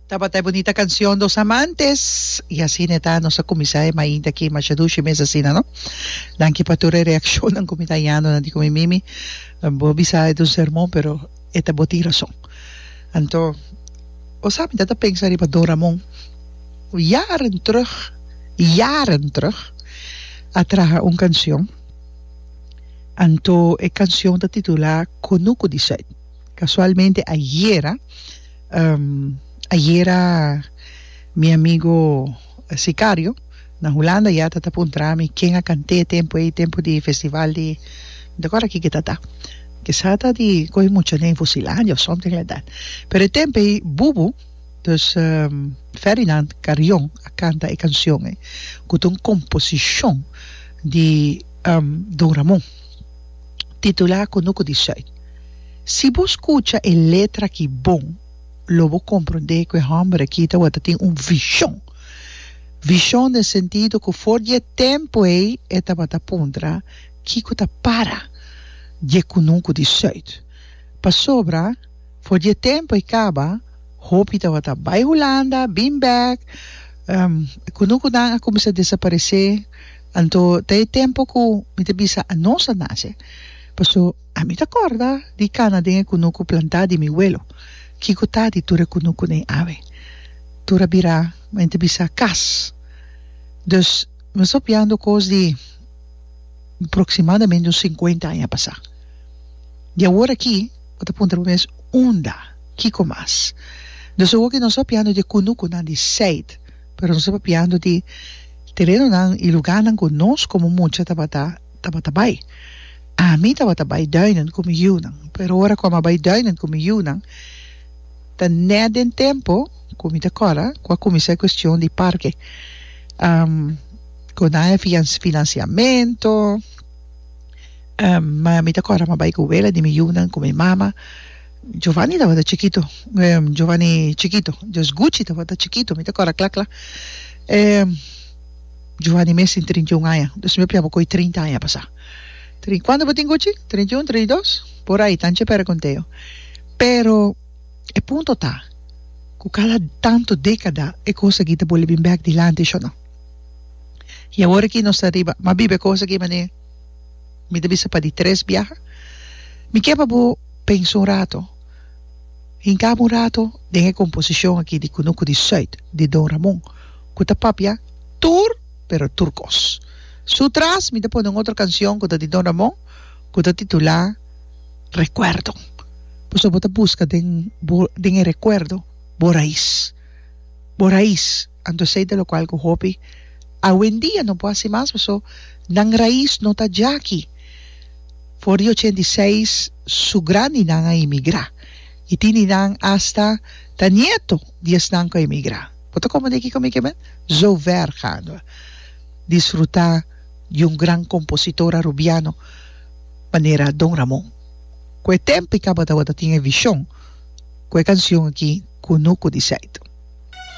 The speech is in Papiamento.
Tabata e bunita cancion Dos Amantes y asina e ta nos a cuminsa e mainta aki masha dushi mes asina no. Danki pa tur e reaccionnan cu mi ta hañando nan di cu mi Mimi bo a bisa e ta un sermon pero e ta bo tin rason. Anto bo sa mi ta ta pensa riba Don Ramon cu jaren terug jaren terug a traha un cancion anto e cancion ta titula Cunucu di Zuid casualmente ayera. Ayera mi amigo Sicario na Hulanda ya ta ta puntra mi ken a kant'é tempu ei, tempu di festival di, mi ta kòrda kiko ta ta, kisa ta di kohe mucha den Fusilandia of something like that. Pero e tempu ei Bubu, dus Ferdinand Carrion a kanta e kanshon ei ku ta un komposishon di Don Ramon titulá Kunuku di Sùit. Si bo skucha e letra aki bon, lo bo komprondé ku e hòmber aki tabata tin un vishon. Vishon den sentido ku for di e tempu ei e tabata puntra kiko ta para di e kunuku di sùit. Pasobra for di e tempu ei kaba hopi tabata bai Hulanda, bin bèk, e kunukunan a kuminsá desaparesé. Anto ta e tempu ku mi ta bisa anos a nase. Paso. Ami ta kòrda di kana den e kunuku plantá di mi welo. Kiko ta di tur e kunukunan awe? Tur a bira, men ta bisa, kas. Dus, mi sta piando kos di aproksimadamente un sinkuenta aña pasá. Di awor aki, bo ta puntra bo mes, Unda? Kiko mas? Dus awor ki nos ta piando di e kunukunan di seit, pero nos ta papiando di terenonan i lugánan ku nos komo mucha tabata tabata bai. Ami tabata bai duinen ku mi yunan, pero ora ku ami a bai duinen ku mi yunan, ta nèt den tempu ku mi ta kòrda ku a kuminsá e kuestion di parke, ku nan e finansiamentu, ma mi ta kòrda mi a bai ku wela di mi yunan ku mi mama, Giovanni tabata chikitu, Giovanni chikitu, dus Gucci tabata chikitu, mi ta kòrda kla kla. Giovanni mes tin 31 aña, dus mi a piaba koe 30 aña pasá. Tri, kuantu bo tin Gucci? 31, 32? Por ahí, tanchi pera konteo. Pero e punto ta ku kada tantu dékada e kos aki ta bolbe bin bèk dilanti, sho no? I awor aki nos ta riba, m'a biba e kos aki manera mi ta bisa pa di tres biaha. Mi ke pa bo pensa un rato, hinka bo un rato den e komposishon aki di Kunuku di Sùit di Don Ramon ku ta papia tur pero tur kos. Su tras mi ta pone un otro kansion ku ta di Don Ramon ku ta titulá Rekuerdo. Pasobra bo ta buska den bo den e rekuerdo bo rais. Bo rais. Anto esei ta lokual ku hopi awendia no por hasi mas pasobra nan rais no ta djaki. For di 86 su grandinan a imigrá i tin di nan asta ta nieto di esnan ku a imigrá. Bo ta komprendé kiko mi ke men? Zo ver gaan we disfrutá di un gran kompositor arubiano manera Don Ramon. Ku e tempu i kaba tabata tin e vishon ku e kansion aki Kunuku di Seit.